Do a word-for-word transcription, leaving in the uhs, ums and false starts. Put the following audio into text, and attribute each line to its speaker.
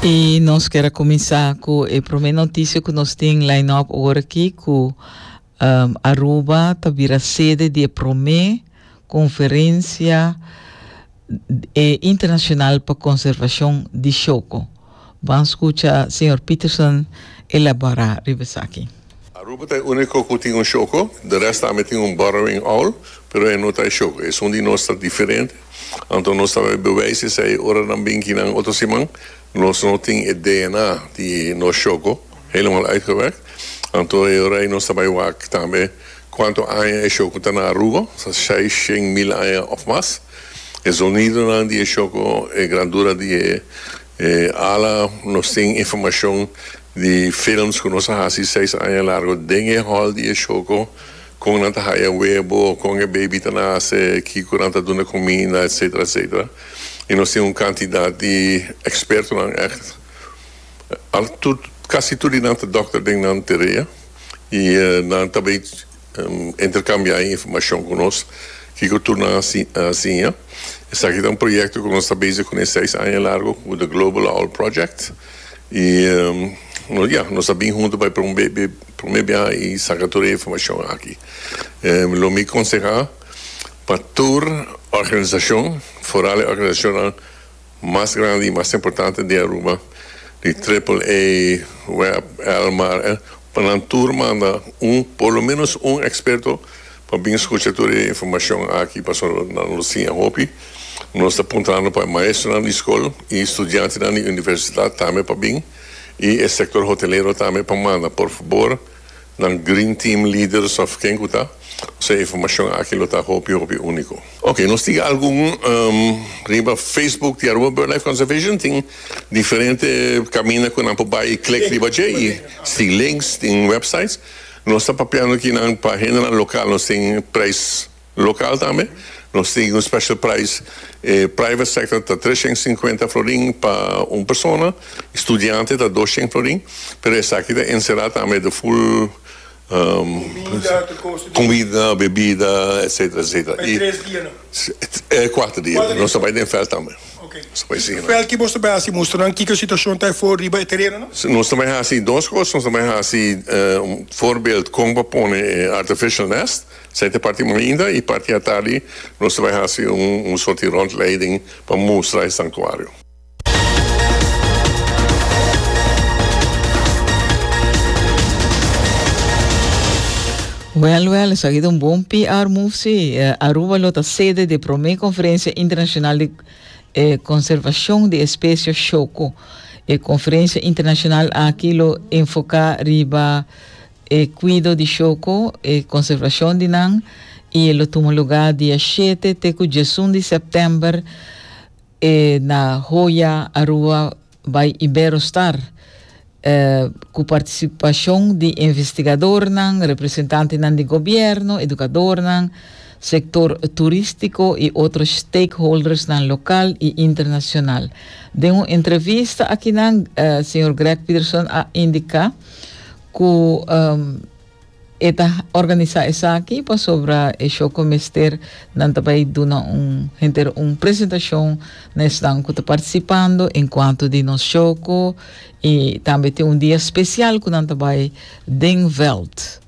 Speaker 1: I nos ke kuminsá ku e promé notisia ku nos tin line-up awor aki, ku um, Aruba ta bira sede di promé konferensia eh, internashonal pa konservashon di shoco. Ban skucha señor Peterson elaborá riba esaki.
Speaker 2: Aruba ta e úniko ku tin un shoco, di resto tambe tin un burrowing owl, pero e no ta shoco. Esun di nos ta diferente. Anto nos ta bewijs esei ora nan bin aki na otro siman, nos no tin e D N A di nos shoco, helemaal uitgewerkt. Anto ora nos ta bai wak tambe kuantu aña e shoco ta na Aruba, seis mil aña òf mas. E zonido di shoco, e grandura di e ala, nos tin informashon di films ku nos a hasi seis aña largu den e hol di shoco, kon nan ta haya webo, kon e baby ta nase, kiko nan ta duna kuminda, et cetera, et cetera. I nos tin un kantidat di ekspertonan, echt al tur, kasi tur nan ta dòkter den nan tereno i uh, nan tambe um, interkambiá informashon ku nos ku tur nan asina. Esaki ta un proyekto ku nos ta bezig kuné seis aña largu, ku The Global Owl Project. I um, no, ja, nos ta bin huntu pa promé i saka tur e informashon aki. Um, lo mi konsehá pa tur organisashon, vooral organisashon mas grandi i mas importante di Aruba, di A A A, W E B, Elmar, eh, pa nan tur manda un, por lo menos un eksperto pa bin skucha tur e informashon aki, pa nan lo siña hopi. Nos ta apuntando pa maestro di skol i studiante di universidat tambe pa bin i e sektor hotelero tambe pa manda, por fabor, nan green team leaders òf ken ku ta. E informashon aki lo ta hopi hopi úniko. Ok, nos tin algun um, riba Facebook di Aruba BirdLife Conservation, tin diferente kaminda ku nan por bai click riba dje i tin links, tin websites. Nos ta papiando aki na página lokal, nos tin prijs lokal tambe. Nos tin un special price, eh, private sector ta treshen sinkuenta florin pa un persona, studiante ta dosshen florin, pero esaki ta enserá tambe the full um,
Speaker 3: Kuminda, kosto.
Speaker 2: Kuminda, bebida, et cetera, et cetera.
Speaker 3: Pa tres dia, no?
Speaker 2: E, kuater dia.
Speaker 3: Kuater dia.
Speaker 2: Nos ta bai den veld tambe.
Speaker 3: Ok.
Speaker 2: Nos ta bai sigui.
Speaker 3: Veld ku boso ta bai mustra nan kiko situashon ta for riba e tereno, no?
Speaker 2: Nos ta bai hasi dos kos, nos ta bai hasi uh, un voorbeeld kon pa pone eh, artificial nest, esei ta parti mainta, i parti atardi nos ta bai hasi un, un sorto di rondleiding pa mustra e sanktuario.
Speaker 1: Well, well, esaki ta un bon P R move, sí. Eh, Aruba lo ta sede di promé konferensia internashonal di eh, konservashon di espesie shoco. E konferensia internashonal aki lo enfoká riba eh, kuido di shoco i konservashon di nan i lo tuma lugá dia shete te ku diesun di sèptèmber eh, na Joya Aruba by Iberostar, eh, ku partisipashon di investigadónan, representantenan di gobièrnu, edukadónan, sektor turístiko i otro stakeholdersnan lokal i internashonal. Den un entrevista aki nan, eh, señor Greg Peterson a indiká ku um, e ta organisá esaki pasobra e shoco mester nan tambe duna un henter un presentashon na esnan ku ta partisipando en kuanto di nos shoco i tambe tin un dia spesial ku nan tambe den veld.